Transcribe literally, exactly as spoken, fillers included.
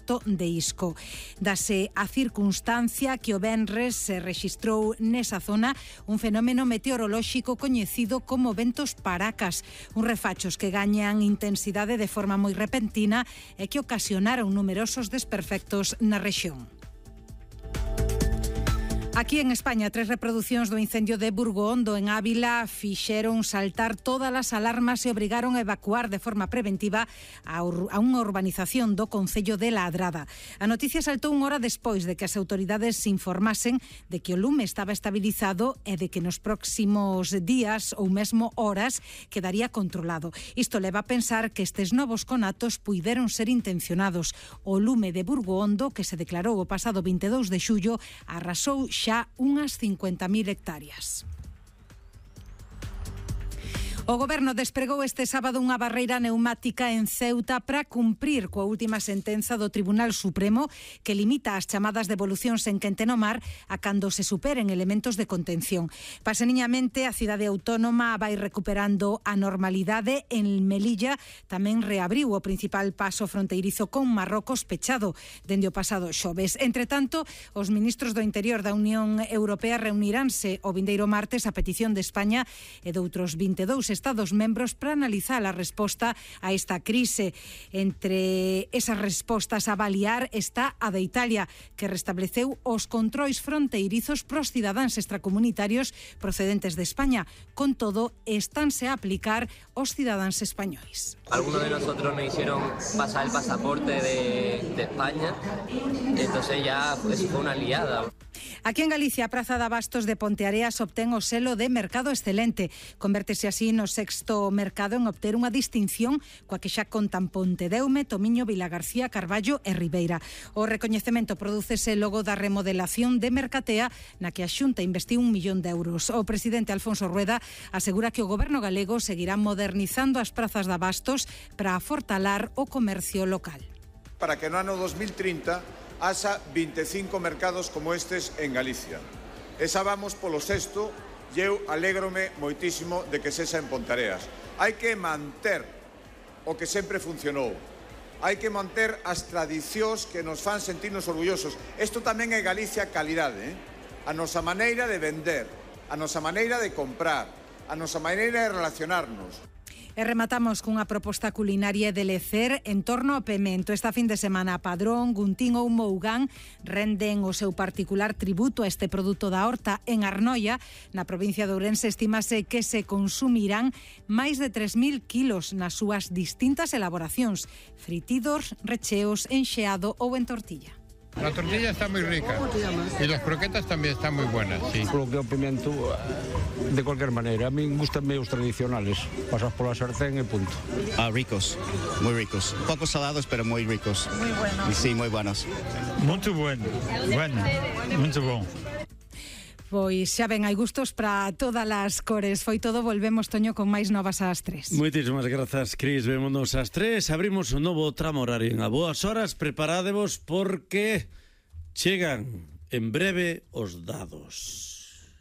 porto de Isco. Dase a circunstancia que o venres se rexistrou nesa zona un fenómeno meteorolóxico coñecido como ventos paracas, uns refachos que gañan intensidade de forma moi repentina e que ocasionaron numerosos desperfectos na rexión. Aquí en España, tres reproduccións do incendio de Burgondo en Ávila fixeron saltar todas as alarmas e obrigaron a evacuar de forma preventiva a, ur- a unha urbanización do concello de Ladrada. A noticia saltou unha hora despois de que as autoridades se informasen de que o lume estaba estabilizado e de que nos próximos días ou mesmo horas quedaría controlado. Isto leva a pensar que estes novos conatos puideron ser intencionados. O lume de Burgondo, que se declarou o pasado vinte e dous de xullo, arrasou xa unhas cincuenta mil hectáreas. O Goberno despregou este sábado unha barreira neumática en Ceuta para cumprir coa última sentenza do Tribunal Supremo que limita as chamadas devolucións en quente no mar a cando se superen elementos de contención. Paseniñamente, a cidade autónoma vai recuperando a normalidade. En Melilla tamén reabriu o principal paso fronteirizo con Marrocos pechado dende o pasado xoves. Entre tanto, os ministros do Interior da Unión Europea reuniránse o vindeiro martes a petición de España e de outros vinte e dous Estados membros para analizar a resposta a esta crise. Entre esas respostas a avaliar está a de Italia, que restableceu os controis fronteirizos pros cidadáns extracomunitarios procedentes de España. Con todo, estánse a aplicar os cidadáns españois. Algunos de nosotros nos hicieron pasar el pasaporte de, de España, entonces ya pues, fue una liada. Aquí en Galicia, a Praza de Abastos de Ponteareas obtén o selo de Mercado Excelente. Convértese así no sexto mercado en obter unha distinción coa que xa contan Pontedeume, Tomiño, Vilagarcía, Carballo e Ribeira. O recoñecemento prodúcese logo da remodelación de Mercatea, na que a Xunta investiu un millón de euros. O presidente Alfonso Rueda asegura que o goberno galego seguirá modernizando as prazas de abastos para afortalar o comercio local. Para que no ano dos mil trinta haxa vinte e cinco mercados como estes en Galicia. E xa vamos polo sexto e eu alégrome moitísimo de que sexa en Ponteareas. Hai que manter o que sempre funcionou. Hai que manter as tradicións que nos fan sentirnos orgullosos. Isto tamén é Galicia calidade, eh? A nosa maneira de vender, a nosa maneira de comprar, a nosa maneira de relacionarnos. E rematamos cunha proposta culinaria de lecer en torno ao pemento. Esta fin de semana, Padrón, Guntín ou Mougán renden o seu particular tributo a este produto da horta en Arnoia. Na provincia de Ourense estimase que se consumirán máis de tres mil kilos nas súas distintas elaboracións, fritidos, recheos, enxeado ou en tortilla. La tortilla está muy rica y las croquetas también están muy buenas, sí. Lo que o pimiento, de cualquier manera, a mí gustan meus tradicionales, pasas pola sartén e punto. Ah, ricos, muy ricos, poco salados pero muy ricos. Muy buenos. Sí, muy buenos. Muito bueno, bueno, muito bom. Pois xa ven, hai gustos para todas as cores. Foi todo, volvemos, Toño, con máis novas ás tres. Moitísimas grazas, Cris. Vémonos ás tres. Abrimos un novo tramo horario en a boas horas. Preparadevos porque chegan en breve os dados.